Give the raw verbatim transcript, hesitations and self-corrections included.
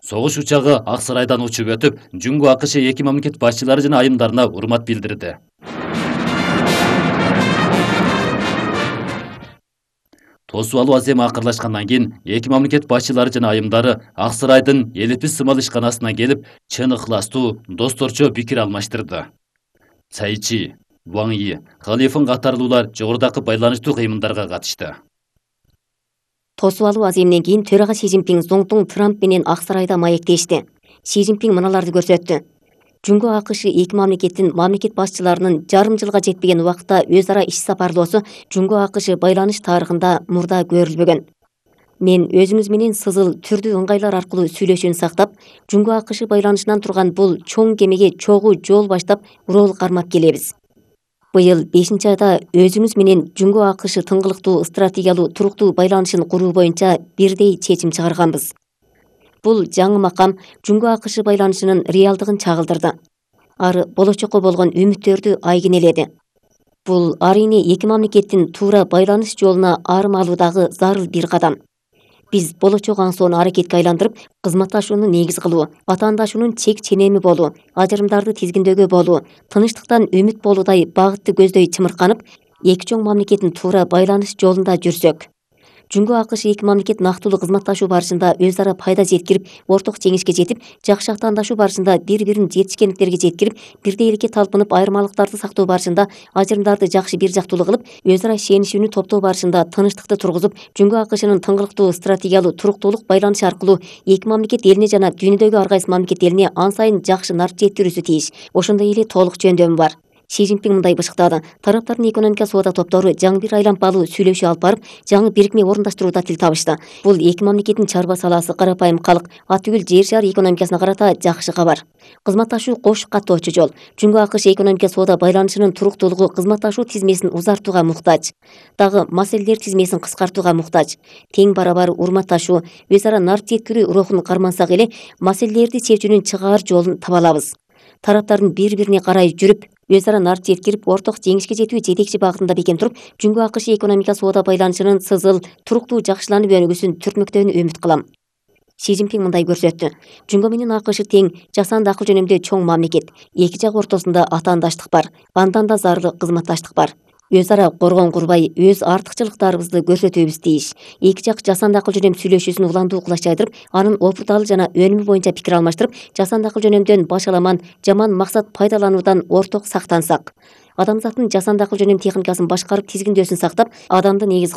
Согуш учагы Ак Сарайдан учуп өтүп, Жуңго АКШ эки мамлекет башчылары жана айымдарына урмат билдирди. Тосуп алуу аземи акырлашкандан кийин эки мамлекет башчылары жана айымдары Ак Сарайдын элипи сымал ишканасына келип, чын ыхластуу, досторчо пикир алмаштырды. Цай Чи, Ван Yi, Халифын катарлуулар жогорудагы байланыштуу кыймылдарга катышты. Тосуп алуу аземинен кийин төрага Си Цзиньпин Зоңтун Трамп менен Ак Сарайда маектешти. Си Цзиньпин мыналарды көрсөттү. Жуңго АКШ эки мамлекеттин мамлекет башчыларынын жарым жылга жетпеген убакта өз ара иш сапарлоосу Жуңго АКШ байланыш тарыхында мурда көрүлбөгөн. Мен өзүңүз менен сызыл түрдүү ыңгайлар аркылуу сүйлөшүүнү сактап, Жуңго АКШ байланышынан турган бул чоң кемеге чогуу жол баштап рол кармап келебиз. Быйыл бешинчи айда өзүңүз менен Жуңго АКШ тыңгылыктуу стратегиялуу туруктуу байланышын куруу боюнча бирдей чечим чыгарганбыз. Бул жаңы макам Жуңго АКШ байланышынын реалдыгын чагылдырды. Ары болочокко болгон үмүттөрдү айгинеледи. Бул арийне эки мамлекеттин туура байланыш жолуна арым алуудагы зарыл бир кадам. Биз болочок аңсоону аракетке айландырып, кызматташууну негиз кылуу, атаандашуунун чек ченеми болуу, ажырымдарды тизгиндөөгө болуу, тынчтыктан үмүт болуудай багытты көздөй чымырканып, эки чоң мамлекеттин туура байланыш жолунда жүрсөк. Жуңго АКШ эки мамлекет нактылуу кызматташуу барышында өз ара пайда жеткирип, орток жеңишке жетип, жакшы атаандашуу барышында бири-бирин жетишкендиктерге жеткирип, бирдейликке талпынып, айырмалыктарды сактоо барышында ажырымдарды жакшы бир жактуулуу кылып, өз ара ишенишүүнү топтоо барышында тынчтыкты тургузуп, Жуңго АКШнын тыңгылыктуу стратегиялуу туруктуулук байланышы аркылуу эки мамлекет элине жана дүйнөдөгү ар кайсы мамлекет элине ан сайын жакшы нарт жеткирүүсү тийиш. Ошондой эле толук жөндөмү бар. Си Цзиньпин мындай бышыктады. Тараптардын экономика соода топтору жаңы бир айланпалуу сүйлөшүү алып барып, жаңы бирикме орундаштырууда тил табышты. Бул эки мамлекеттин чарба саласы, карапайым калк, ат түгүл жер шары экономикасына карата жакшы кабар. Кызматташуу кош каттоочу жол. Жуңго АКШ экономика соода байланышынын туруктуулугу кызматташуу тизмесин узартууга муктаж. Дагы маселелер тизмесин кыскартууга муктаж. Тең барабар урматташуу, өз ара нарт жеткирүү рухун кармансак эле, маселелерди чечүүнүн чыгаар жолун таба алабыз. Тараптардын бири-бирине карай жүрүп, өз ара нарт жеткирип, орток жеңишке жетүү жетекчи багытында бекем туруп, Жуңго АКШ экономика соода байланышынын сызыл, туруктуу жакшыланып өнүгүүсүн түртмөктөөнү үмүт кылам. Си Цзиньпин мындай көрсөттү. Жуңго менен АКШ тең, жасанды акыл жөнүндө чоң мамлекет. Эки жак ортосунда атаандаштык бар, андан да зарыл кызматташтык бар. Өз ара коргон курбай, өз артыкчылыктарыбызды көрсөтүүбүз тийиш. Эки жак жасанды акыл жөнөм сүйлөшүүсүн уландуу кылаш жайдырып, анын опурталы жана өнүмү боюнча пикир алмаштырып, жасанды акыл жөнөмдөн баш аламан, жаман максат пайдалануудан орток сактансак. Адамзаттын жасанды акыл жөнөм техникасын башкарып тизгиндөөсүн сактап, адамды негиз